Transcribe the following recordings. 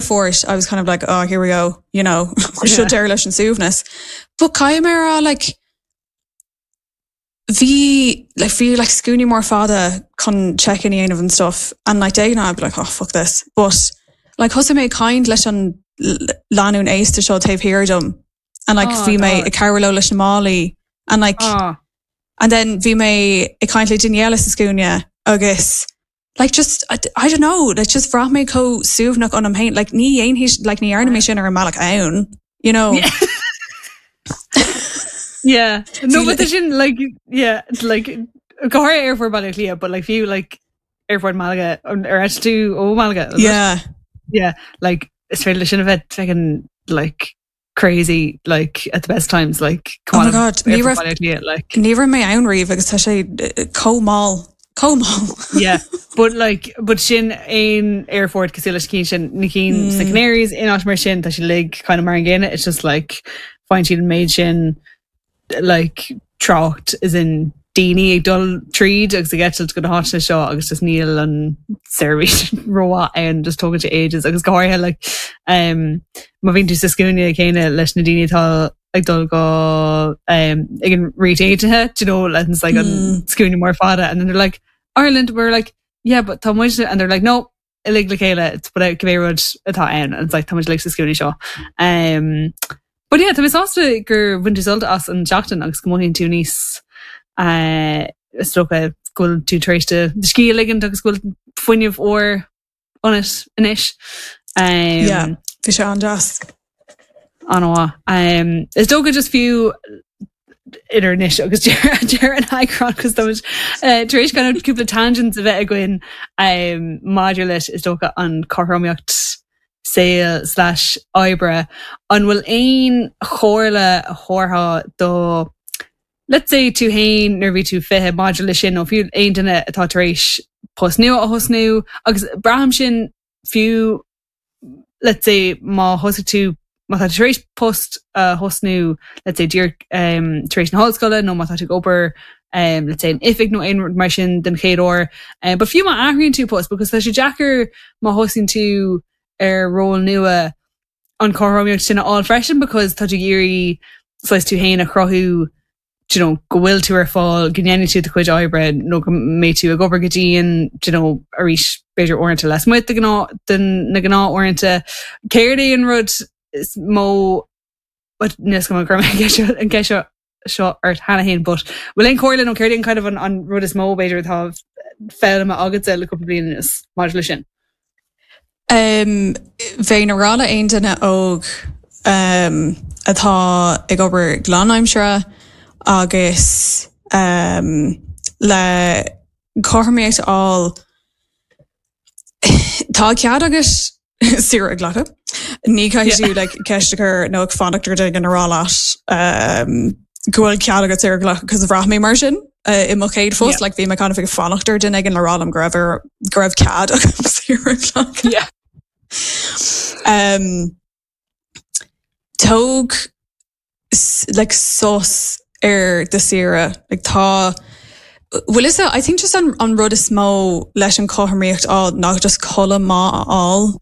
aerfort I was kind of like oh here we go you know seo deireadh leis an suaimhneas. But caithfidh mé a rá like bhí like bhí like scuainí mór fada chun check-in a dhéanamh and stuff and like de ghnáth I'd be like oh fuck this but like thosaigh mé ag caint leis an lánúin aosta seo taobh thiar dom and like oh, bhí mé ag cabhrú leo leis na málaí and like oh. and then bhí mé ag caint le duine eile sa scuaine agus like just I, I don't know like just bhraith mé chomh suaimhneach ionam féin like ní dhéanfaidh like ní dhearna mé sin ar an mbealach ann you know yeah. yeah. No, but sin like yeah like go háirithe aerfort Bhaile Átha Cliath but like fiú like aerfort Malaga ar eitil tú ó Malaga yeah yeah like is féidir leis sin a bheith fucking like crazy like at the best times like oh my god ní raibh like ní raibh mé ann riamh agus tá sé eh, chomh mall chomh mall yeah but like but sin aon aerfort cosúil leis cinn sin na cinn mm. sna Canaries in áit mar sin tá sé like kind of mar an gcéanna it's just like faigheann siad an méid sin like trácht as in daoine ag dul tríd agus ag eitilt go na háiteanna seo agus just níl an seirbhís rómhaith ann just tógann sé ages agus go háirithe like um, má bhíonn tú sa scuaine céanna leis na daoine atá ag dul go um, ag an Ríocht Aontaithe do you know like, it's like an mm. scuaine mór fada and then they're like Ireland we're like yeah but tá muid and they're like no uilig le chéile it's but cibé rud atá ann and it's like tá muid uilig sa scuaine seo. Um, but yeah, tá mé sásta gur bhain tú sult as an seachtain agus go mothaíonn tú níos uh, is dócha go bhfuil tú tar éis do do scíth a ligint agus go bhfuil fuinneamh úr ionat anois. Um, yeah, bhí sé an-deas. An-mhaith. Um, is dócha just fiú idir anois agus deireadh an eagráin cos tá muid eh, tar éis kind of cúpla tangents a bheith againn um, maidir leis is dócha an chothromaíocht saoil slash oibre. An bhfuil aon chomhairle a thabharfá do let's say tú féin nuair a bhí tú 20 maidir leis sin nó fiú aon duine atá tar éis post nua a thosnú agus braithim sin fiú let's say má thosaigh tú, má tá tú tar éis post a thosnú let's say díreach um, tar éis na hollscoile nó má tá tú ag obair um, let's say in oifig nó aon rud mar sin den chéad uair. Um, but fiú má athraíonn tú post because tá sé deacair má thosaíonn tú ar ról nua an chothromaíocht sin a fháil freisin because tá tú ag iarraidh saghas tú féin a chruthú do you know, go bhfuil tú ar fáil, go ndéanfaidh tú do chuid oibre nó go mbeidh tú ag obair go dian, do you know, arís b'fhéidir uaireanta lasmuigh de ghnáth, de na gnáth-uaireanta. Céard é an rud is mó, níl 'fhios agam an gcuir mé an ceist seo, an ceist seo, seo ort cheana féin, but bhfuil aon chomhairle nó céard é an kind of an, an rud is mó b'fhéidir atá foghlamtha agatsa le cúpla bliain anuas maidir leis sin? Bheinn ag rá le aon duine óg atá ag obair go lánaimseartha agus le cothromaíocht a fháil, tá cead agat saoire a ghlacadh. Ní chaithfidh tú like ceist a chur nó ag fanacht ar duine a rá leat go bhfuil cead agat saoire a ghlacadh cos bhraith mé mar sin i mo chéad phost, like bhí mé kind of ag fanacht ar duine éigin le rá liom go raibh ar go raibh cead agam saoire a ghlacadh. Yeah. Um, tóg like sos ar do saoire, like tá bhfuil fhios I think just an, an rud is mó leis an chothromaíocht a fháil ná just codladh maith a fháil.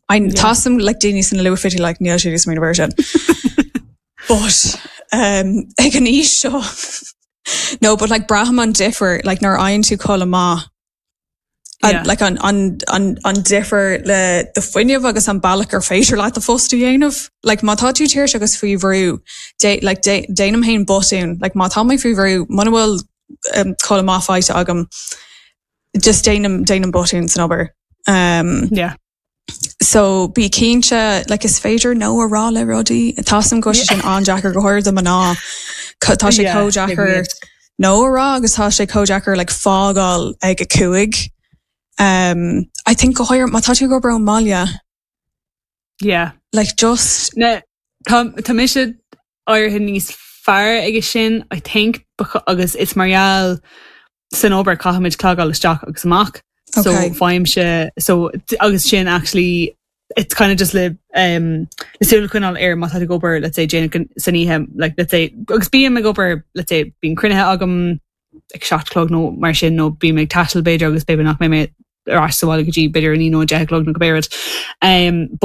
I yeah. Tá some like daoine sna luathfhichidí like níl siad ag smaoineamh air sin. But um, ag an aois seo no, but like braithim an difear like nuair a fhaigheann tú codladh maith yeah. like an, an, an, an difear le do fuinneamh agus an bealach gur féidir leat do phost a dhéanamh. Like má tá tú tuirseach agus faoi bhrú, dé, like, dé, déanaim féin botún. Like má tá mé faoi bhrú, muna bhfuil um, codladh maith faighte agam, just déanaim, déanaim botún san obair. Um, yeah. So bí cinnte like is féidir no a rá le rudaí. Tá 'fhios a'm go bhfuil sé sin an-deacair go háirithe do mná. Tá sé chomh deacair no a rá agus tá sé chomh deacair like fágáil ag a 5. Um, I think go háirithe má tá tú ag obair ón mbaile. Yeah. Like just. Na, tá, tá mise éirithe níos fearr aige sin, I think, agus is mar gheall san obair caithfimid clogáil isteach agus amach. So Okay. faighimse so agus sin actually it's kind of just le um, le súil a choinneáil air má tá tú ag obair let's say déanach san oíche like let's say agus bím ag obair let's say bíonn cruinnithe agam ag 7 a chlog nó mar sin nó bím ag taisteal b'fhéidir agus b'fhéidir nach mbeidh mé ar ais sa bhaile go dtí b'fhéidir 9 nó 10 a chlog nó cibé rud. Um, but.